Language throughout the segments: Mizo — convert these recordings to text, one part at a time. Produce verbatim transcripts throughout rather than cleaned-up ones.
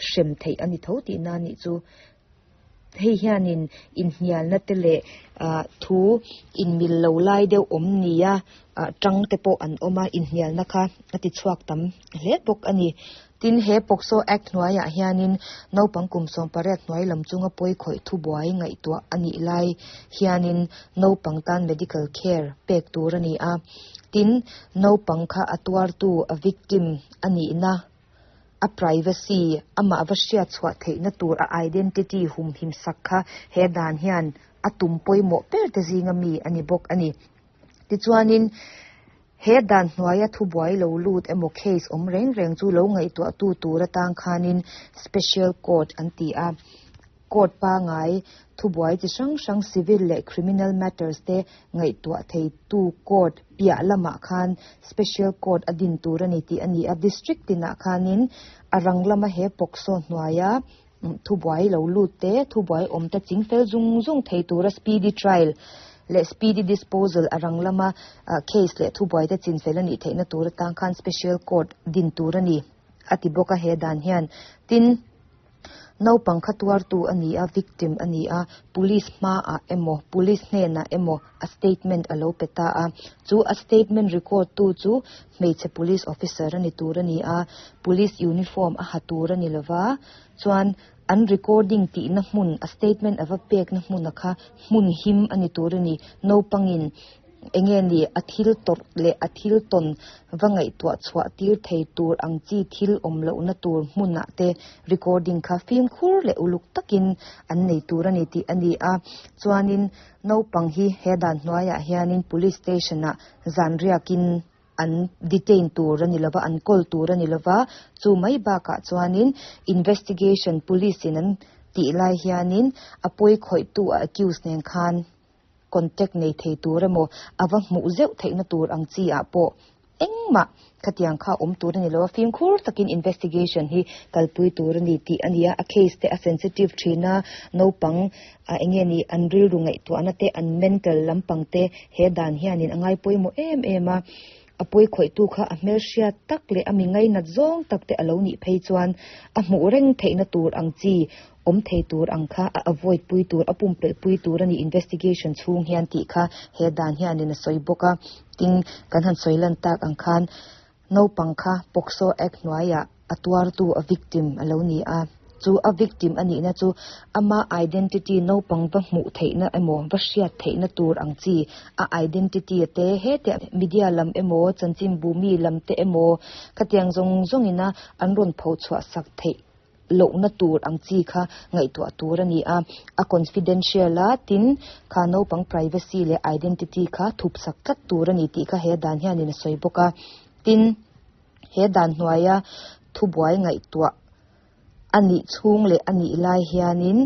hrem theih ani tho tihna anih chu. Hei hianin inhnialna te leh ah thu inmil lo lai deuh awm nia ah tang te pawh an awm a, inhnialna kha a ti chhuak tam hle bawk ani. Tin, he POCSO Act hnuaiah hianin naupang kum sawm pariat hnuai lam chunga pawi khawih thu buai ngaihtuah anih lai hianin naupang tan medical care pek tur ani a. Tin, naupang kha a tuartu, a victim anih na, a privacy, amah va hriat chhuah theihna tur a identity humhim sak kha he dan hian a tum pawimawh ber te zinga mi ani bawk ani. Tichuanin he dan hnuaia thu buai lo lut emaw case awm reng reng chu lo ngaihtuah tu tur atang khanin special court an ti a. Court pangai thu buai chi hrang hrang civil leh criminal matters te ngaihtuah thei tu court piah lamah khan special court a din tur ani tih ani a. District tinah khanin a rang lama he POCSO hnuaia thu buai lo lut te, thu buai awm te chingfel zung zung thei tura speedy trial leh speedy disposal, a rang lama case leh thu buai te chinfel ani theihna tur atang khan special court din tur ani ati bawk a he dan hian. Tin, naupang kha tuartu ani a, victim ani a, police hmaah emaw police hnenah emaw a statement alo pe ta a. Chu a statement record tu chu hmeichhe police officer ani tur ani a, police uniform a ha tur ani lova. Chuan an recording tihna hmun, a statement ava pek na hmun a kha hmun him ani tur ani. Naupangin enge ni a thil tawrh leh a thil tawn va ngaihtuah chhuah tir thei tur ang chi thil awm lohna tur hmunah te recording kha fimkhur leh uluk takin an nei tur ani tih ani a. Chuanin naupang hi he dan hnuaiah hianin police station ah zan riakin an detain tur ani lova, an kawl tur ani lova. Chu mai bakah chuanin investigation police in an tih lai hianin a pawi khawih tu, a accused nen khan contact nei thei tur emaw ava hmuh zeuh theihna tur ang chi ah pawh engmah khatiang kha awm tur ani lo a, fimkhur takin investigation hi kalpui tur ani tih ani a. A case te a sensitive thina, naupang a enge ni an rilru ngaihtuahna te, an mental lampang te he dan hianin a ngai pawimawh em em a. A pawi khawih tu kha a hmel hriat tak leh a mi ngainat zawng tak te alo nih phei chuan a hmuh reng theihna tur ang chi awm thei tur ang kha a avoid pui tur, a pumpelh pui tur ani investigation chhung hian tih kha he dan hianin a sawi bawk a. Tin, kan han sawi lan tak ang khan naupang kha POCSO Act hnuaiah a tuartu, a victim alo ni a. Chu a victim anih na chu ama identity naupang va hmuh theihna emaw va hriat theihna tur ang chi a identity te he te media lam emaw chanchin bu mi lam te emaw khatiang zawng zawngina an rawn pho chhuah sak theih lohna tur ang chi kha ngaihtuah tur ani a, a confidential a. Tin, kha naupang privacy leh identity kha thup sak tlat tur ani tih kha he dan hianin a sawi bawk a. Tin, he dan hnuaia thu buai ngaihtuah anih chhung leh anih lai hianin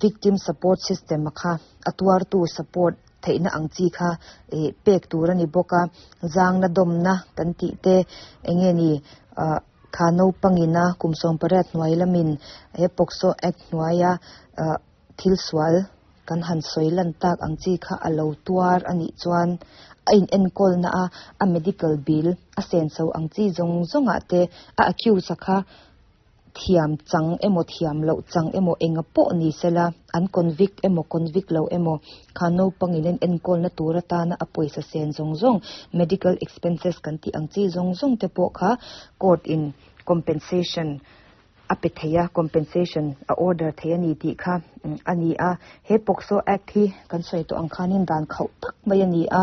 victim support system a kha a tuartu support theihna ang chi kha eh pek tur ani bawk a. Zangna dawmna kan tih te, enge ni kha naupangina kum sawm pariat hnuai lamin he POCSO Act hnuaia thil sual kan han sawi lan tak ang chi kha alo tuar anih chuan a in enkawl na a a medical bill a senso ang chi zawng zawngah te a accused a kha thiam chang emaw thiam loh chang emaw enga pawh ni sela, an convict emaw convict lo emaw, kha naupangin an enkawl na tur atana a pawisa sen zawng zawng, medical expenses kan tih ang chi zawng zawng te pawh kha court in compensation a pe thei a, compensation a order thei ani tih kha ani a. He POCSO Act hi kan sawi tawh ang khanin dan khauh tak mai ani a,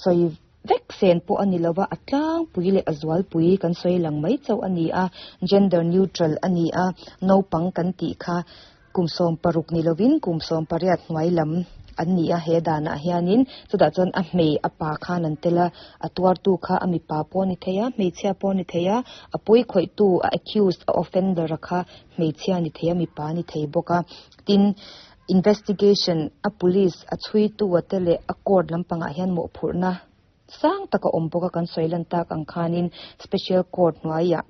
sawi vek sen pawh ani lova, a tlangpui leh a zualpui kan sawi lang mai chauh ani a. Gender neutral ani a, naupang kan tih kha kum sawm paruk ni lovin kum sawm pariat hnuai lam an ni a he danah hianin. Chutah chuan a hmei a pa khan an tel a, a tuartu kha a mipa pawh ni thei a, hmeichhia pawh ni thei a, a pawi khawih tu, a accused, a offender a kha hmeichhia ni thei a, mipa ni thei bawk a. Tin, investigation a police a chhui tu a te leh a court lampangah hian mawhphurhna sang taka awm bawk a. Kan sawi lan tak ang khanin special court hnuaiah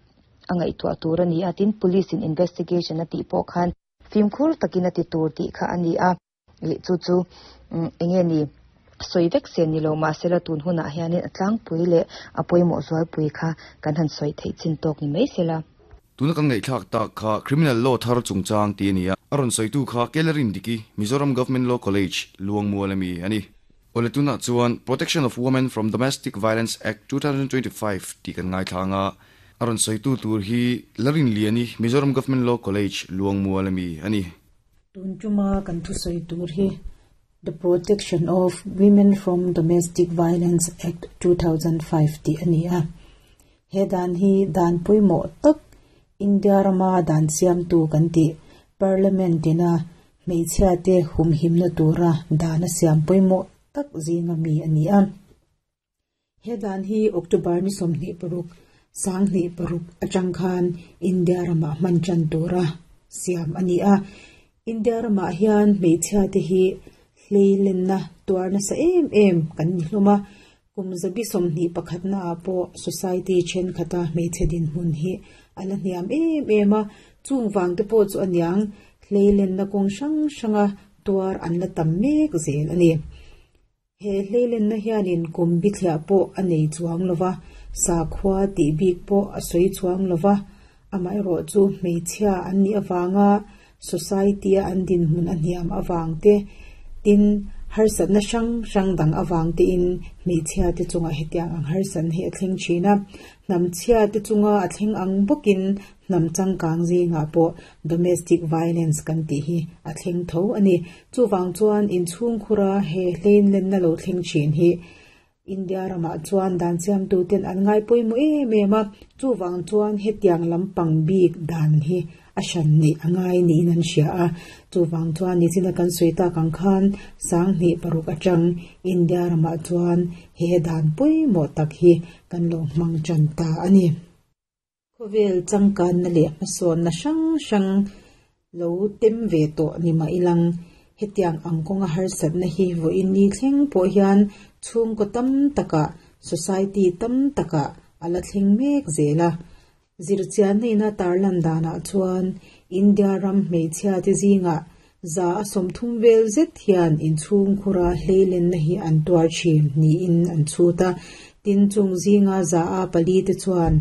a ngaihtuah tur ani a. Tin, police in investigation a tih pawh khan fimkhur takin a ti tur tih kha ani a. Chu chu enge ni sawi vek sen ni lo mahsela tun hunah hianin a tlangpui leh a pawimawh zualpui kha kan han sawi theih chin tawk ni mai sela. Tuna kan ngaihthlak tak kha Criminal Law thar chungchang ti ania. A rawn sawitu kha Kellerin Diki, Mizoram Government Law College, Luangmual ami ani. Ole tuna chuan Protection of Women from Domestic Violence Act twenty twenty-five ti kan ngaithlanga. A rawn sawitu tur hi Larin Liani, Mizoram Government Law College, Luangmual ami ani. Tun tuma kan thu sawi tur hi The Protection of Women from Domestic Violence Act two thousand five ti ani a. He dan hi dan pawimawh tak, India rama dan siam tu kan ti Parliament ina hmeichhia te humhimna tura dan a siam pawimawh tak zinga mi ani a. He dan hi October ni sawmhnih paruk sanghnih paruk atang khan India rama hman tan tura siam ani a. India rama hian hmeichhia te hi hleilenna tuar nasa em em kan ni hlawm a. Kum zabi sawmhnih pakhatna ah pawh society thenkhat hmeichhe dinhmun hi ala hniam em em a. Chung wang te pawh chu aniang, hleilenna kawng hrang hranga tuar an la tam mek zel ani. He hleilenna hianin kum bithliah pawh a nei chuang lova, sakhua tih bik pawh a sawi chuang lova. Amaherawh chu hmeichhia an nih awanga society a an dinhmun a hniam awang te, tin harsatna hrang hrang dang awang te in hmeichhia te chunga hetiang ang harsan hi a thleng thin a. Hnam chhia te chunga a thleng ang bawkin hnam changkang zingah pawh domestic violence kan tih hi a thleng tho ani. Chuwang chuan inchhung khura he hleilenna lo thleng thin hi India ramah chuan dan siam tu ten an ngai pawimawh em em a. Chuwang chuan hetiang lampang bik dan hi a hran ni angai niin an hria a. Chuwang chuan nichina kan sawi tak ang khan sanghnih paruk atang India ramah chuan he dan pawimawh tak hi kan lo hmang tan ta ani. Khawvel changkan na leh hmasawn na hrang hrang lo tem ve tawh ni mah ilang, hetiang ang kawnga harsatna hi vawiin ni thleng pawh hian chhungkaw tam takah, society tam takah ala thleng mek zel a. Zirchian ina tarlan danah chuan India ram hmeichhia te zingah za a sawmthum vel zet hian inchhung khura hleilenna hi an tuar thin niin an chhut a. Tin, chung zinga za a pali te chuan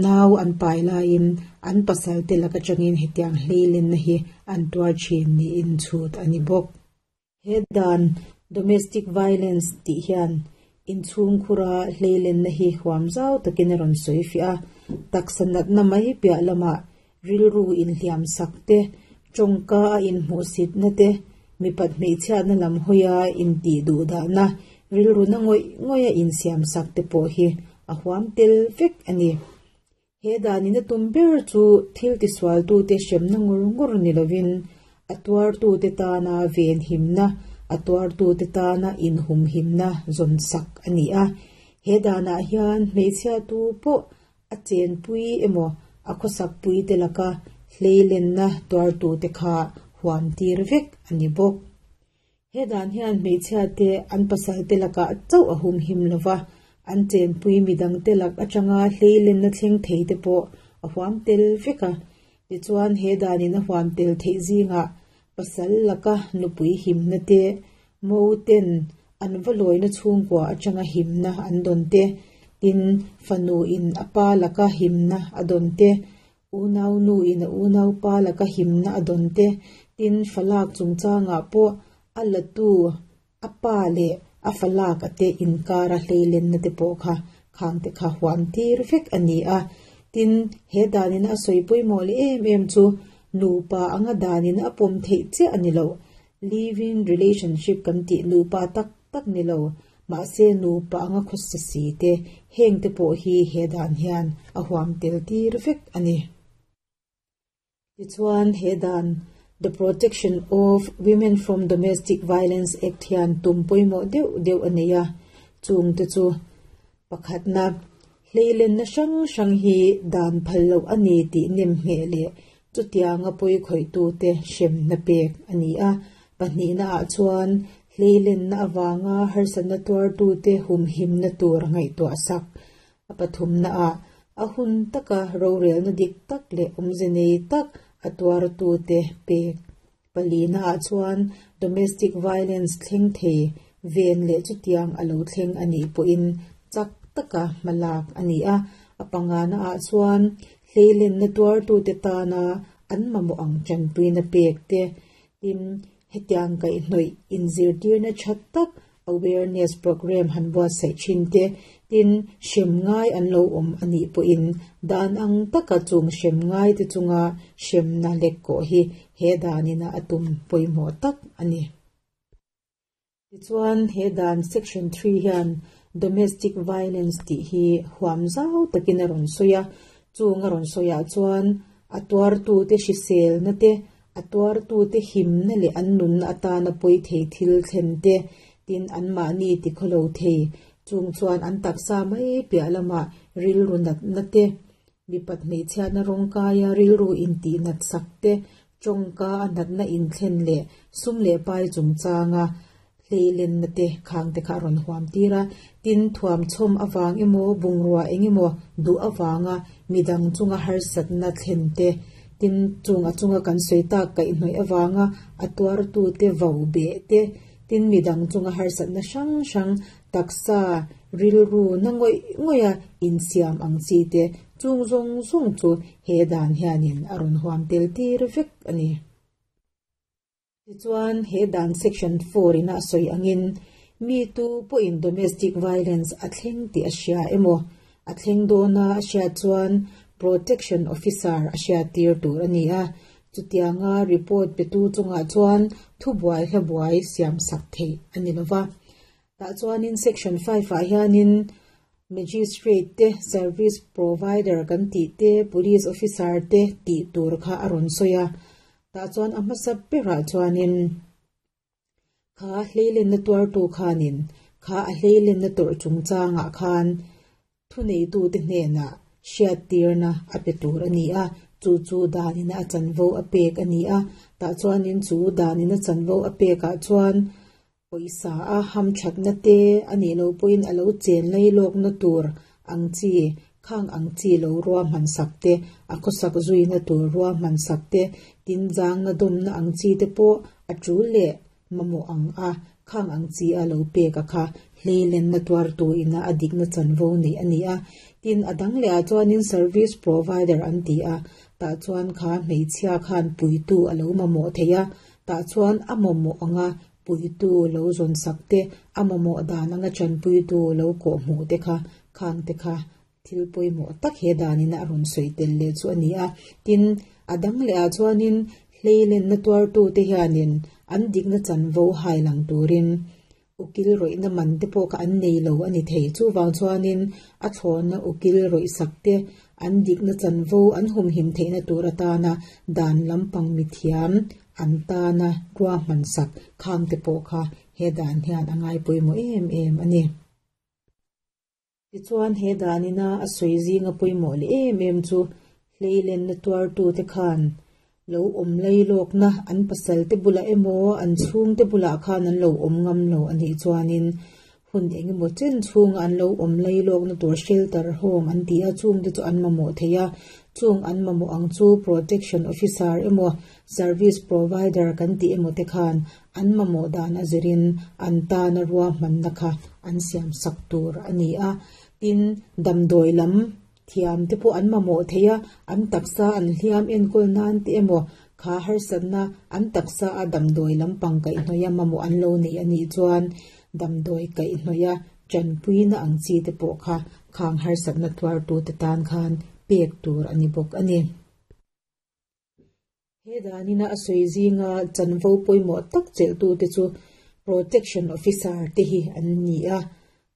nau an pai laiin an pasal te laka tangin hetiang hleilenna hi an tuar thin niin chhut ani bawk. He dan domestic violence tih hian inchhung khura hleilenna hi huam zau takin a rawn sawi fiah a. Taksa natna mai piah lamah rilru inhliam sak te, tawngka a inhmuhsitna te, mipat hmeichhiatna lam hawia intih duh dahna, rilru na ngawih ngawih a insiam sak te pawh hi a huam tel vek ani. He danin a tum ber chu thil tisual tu te hremna ngur ngur ni lovin, a tuar tu te tana ven himna, a tuar tu te tana inhum himna zawn sak ani a. He danah hian hmeichhia tu pawh a chenpui emaw a khawsak pui te laka hleilenna tuar tu te kha huam tir vek ani bawk. He dan hian hmeichhia te an pasal te laka chauh a hum him lova, an chenpui midang te lak atanga hleilenna thleng thei te pawh a huam tel vek a. Tichuan, he danin a huam tel theih zingah pasal laka nupui himna te, mo ten an va lawina chhungkua atanga himna an dawn te, tin fanu in apa laka himna a dawn te, unau nu in a unau pa laka himna a dawn te, tin falak chungchangah pawh a latu apa leh a falak ate inkara hleilenna te pawh kha khang te kha huam tir vek ani a. Tin, he danin a sawi pawimawh leh em em chu nupa anga danin a pawm theih chiah ani lo. Living relationship kan tih, nupa tak tak ni lo mahse nupa anga khawsa si te, heng te pawh hi he dan hian a huam tel tir vek ani. Tichuan, he dan The Protection of Women from Domestic Violence Act hian tum pawimawh deuh deuh ani a. Chung te chu: pakhatna, hleilenna hrang hrang hi dan phal loh ani tih nem hmeh leh chutianga pawi khawih tu te hremna pek ani a. Pahnihna ah chuan hleilenna awanga harsatna tuar tu te humhimna tur ngaihtuah sak. A pathumna ah a hun taka rorelna dik tak leh awmze nei tak a tuar tu te pek. Palina ah chuan domestic violence thleng thei ven leh chutiang alo thleng anih pawhin chak taka hmalak ani a. A pangana ah chuan hleilenna Hleilen na tuar tu te tana an mamo ang chanpui na pek te. Tin hetiang kai hnoi inzirtir na thattak awareness program han bua sai chin te. Tin shem ngai an lo om ani po in dan ang taka chung shem ngai te chunga shem na lek ko hi he danina atum poimo tak ani. Tichuan he dan section three hian domestic violence ti hi huam zau takin a rawn sawi a, chung a rawn sawiah chuan a tuar tu te hrisel na te, a tuar tu te him na leh an nun na atana pawi thei thil thlen te, tin an mahni ti khawlo thei chung chuan an taksa mai piah lama rilru nat na te, mipat hmeichhiatna rawng kaia rilru intih nat sak te, tawngka a natna inthlen leh sum leh pai chungchanga hleilen na te khang te kha a rawn huam tir a. Tin thuam chhawm awang emaw bungrua engemaw duh awanga midang chunga harsatna thlen te, tin chung a chunga kan sawi tak kaih hnawih awanga a tuar tu te vo beh te, tin midang chunga harsatna hrang hrang taksa rilru na ngawih ngawih a insiam ang chi te chung zawng zawng chu he dan hianin a rawn huam tel tir vek ani. Tichuan he dan section four ina a sawi angin mi tu pawhin domestic violence a thleng tih a hria emaw a thleng dawna a hriat chuan protection officer a hriat tir tur ani a. Chutianga report pe tu chungah chuan thu buai hla buai siam sak thei ani lova. Tah chuanin section five ah hianin magistrate te, service provider kan tih te, police officer te tih tur kha a rawn sawi a. Tah chuan a hmasa berah chuanin kha hleilen na tuar tu khanin kha a hleilen na tawrh chungchangah khan thu nei tu te hnenah hriat tirna a pe tur ani a. Chu chu danina a chanvo a pek ani a. Tah chuanin chu danina chanvo a pekah chuan pawisa a ham thatna te ani lo pawhin a lo chen lai lawkna tur ang chi khang ang chi lo rua hman sak te, a khawsak zuina tur rua hman sak te, tin zang na dawmna ang chi te pawh a tul leh mamawh ang a khang ang chi a lo pek a kha hleilen na tuar tu ina a dikna chanvo nei ani a. Tin a dang leh ah chuanin service provider an ti a. Tah chuan kha hmeichhia khan puitu a lo mamawh thei a. Tah chuan a mamawh anga puitu lo zawn sak te, a mamawh dan anga chanpuitu lo kawh hmuh te kha khang te kha thil pawimawh tak he danina a rawn sawi tel leh chu ani a. Tin a dang leh ah chuanin hleilen na tuar tu te hianin an dikna chanvo hai lang turin ukil rawihna man te pawh kha an nei lo ani thei. Chuwang chuanin a thlawna ukil rawih sak te an dikna chanvo an humhim theihna tur atana dan lampang mithiam an tana rua hman sak khang te pawh kha he dan hian a ngai pawimawh em em ani. Tichuan he danina a sawi zinga pawimawh leh em em chu hleilen na tuar tu te khan lo awm lai lawkna an pasal te bulah emaw an chhung te bulah khan an lo awm ngam lo anih chuanin hun engemaw chen chhunga an lo awm lai lawkna tur shelter home an ti a. Chung te chu an mamawh thei a. Chung an mamawh ang chu protection officer emaw service provider kan tih emaw te khan an mamawh dan a zirin an tana rua hmanna kha an siam sak tur ani a. Tin damdawi lam thiam te pawh an mamawh thei a. An taksa an hliam enkawl nan te emaw kha harsatna an taksa a damdawi lampang kaih hnawih a mamawh an lo nei anih chuan damdawi kaih hnawih a chanpuina ang chi te pawh kha khang harsatna tuar tu te tan khan pek tur ani bawk ani. He danina a sawi zinga chanvo pawimawh tak chelh tu te chu protection officer te hi an ni a.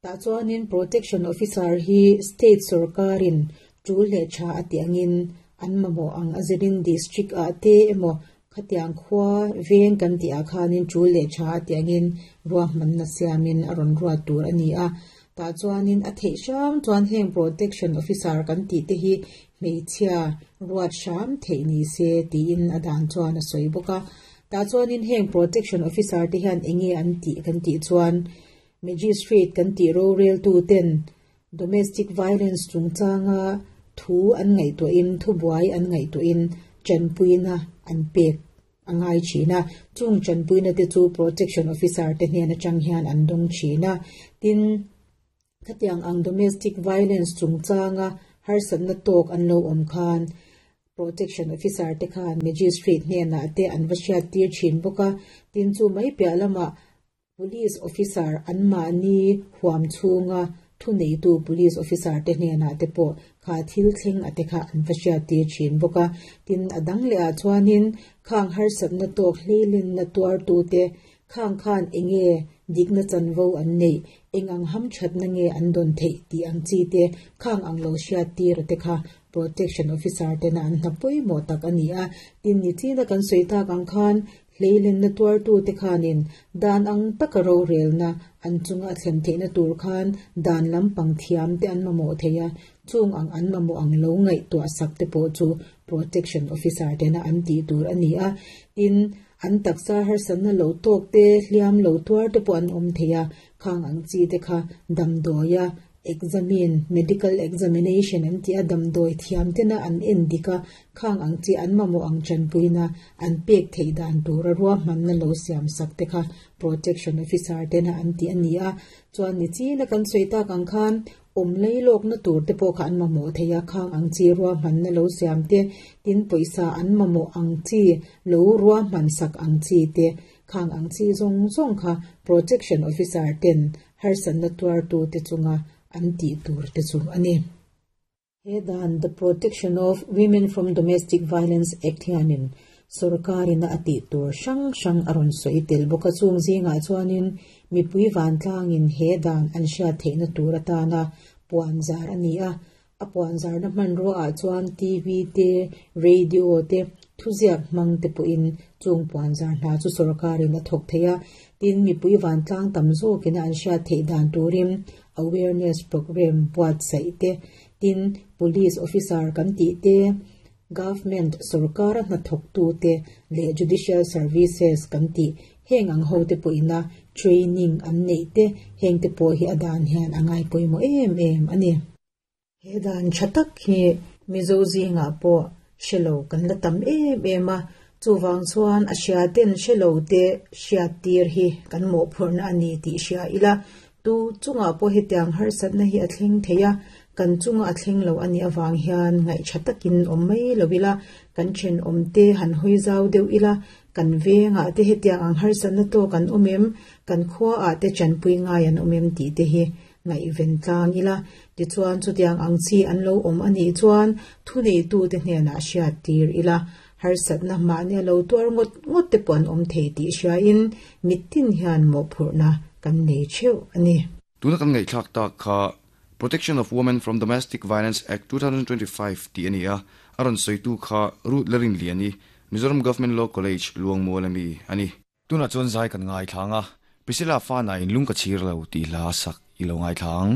Tah chuanin protection officer hi state sarkarin tul leh tha a ti angin an mamawh ang a zirin district ah te emaw khatiang khua veng kan tih ah khanin tul leh tha a ti angin rua hmanna siamin a rawn ruat tur ani a. Tah chuanin a theih hram chuan heng protection officer kan tih te hi hmeichhia ruat hram theih ni se tiin a dan chuan a sawi bawk a. Tah chuanin heng protection officer te hian enge an tih kan tih chuan magistrate kan tih rorel tu ten domestic violence chungchanga thu an ngaihtuahin thu buai an ngaihtuahin chanpuina an pek angai thina. Chung chanpuina te chu protection officer te hnen atang hian an dawng thina. Tin khatiang ang domestic violence chungchanga Harsatna tawk an lo awm khan protection officer te khan magistrate hnenah te an va hriat tir thin bawk a. Tin, chu mai piah lamah police officer an mahni huam chhunga thu neitu police officer te hnenah te pawh kha thil thleng ate kha an va hriat tir thin bawk a. Tin, a dang leh ah chuanin khang harsatna tawk hleilin na tuar tu te khang khan enge dikna chanvo an nei, engang ham thatna nge an don thei ti ang chi te khang ang lo hriat tir te kha protection officer te na an hna pawimawh tak ani a. Tin, ni china kan sawi tak ang khan hleilen na tuar tu te khanin dan ang taka ro relna an chunga a thlen theihna tur khan dan lampang thiam te an mamawh theia, chung ang an mamawh ang lo ngaih tuah sak te pawh chu protection officer te na an tih tur ani a. Tin, an taksa harsatna lo tawk te, hliam lo tuar te pawh an awm theia, khang ang chi te kha damdawia examine, medical examination an ti a, damdawi thiam te na an en dika khang ang chi an mamawh ang chanpuina an pek thei dan tura ruahmanna lo siam sak te kha protection officer te na an ti ani a. Chuan ni china kan sawi tak ang khan awm lei lawk na tur te pawh kha an mamawh theia, khang ang chi ruahmanna lo siam te. Tin, pawisa an mamawh ang chi lo ruahman sak ang chi te, khang ang chi zawng zawng kha protection officer ten harsatna tuar tu te chunga an tih tur te chu ani. He dan, The Protection of Women from Domestic Violence Act hianin sarkarina a tih tur hrang hrang a rawn sawi tel bawk a. Chung zingah chuanin mipui vantlangin he dan an hriat theihna tur atana puan zar ani a. A puan zarna hmanrua ah chuan T V te, radio te, thuziak hmang te pawhin chung puan zar hna chu sarkarin a thawk thei a. Tin, mipui vantlang tam zawkin an hriat theih dan turin awareness program buatsaih te. Tin, police officer kan tih te, government sarkar a hnathawk tu te leh judicial services kan tih heng ang ho te pawhina training an neih te, heng te pawh hi a dan hian a ngai pawimawh em em ani. He dan tha tak hi Mizo zingah pawh hrelo kan la tam em em a. Chuwang chuan a hria ten hrelo te hriat tir hi kan mawhphurhna ani tih hria ila. Tu chungah pawh hetiang harsatna hi a thleng theia, kan chunga a thleng lo ani awang hian ngaih tha takin awm mai lo ila, kan then awm te han hawi zau deuh ila, kan vengah te hetiang ang harsatna tawk an awm em, kan khua ah te chanpui ngai an awm em tih te hi ngaih ven tlang ila. Tichuan, chutiang ang chi an lo awm ani chuan thu nei tu te hnenah hriat tir ila. Harsatna mahni a lo tuar ngawt ngawt te pawh an awm thei tih hria in mitin hian mawhphurhna kan nei theuh ani. Tuna kan ngaihthlak tak kha Protection of Women from Domestic Violence Act twenty twenty-five ti ani a. A rawn sawitu kha Ruth Lerin Liani, Mizoram Government Law College, Luangmual ami ani. Tuna chuan zai kan ngai thlanga Priscilla fa na in lung ka chir lo ti hla sak i lo ngai thlang.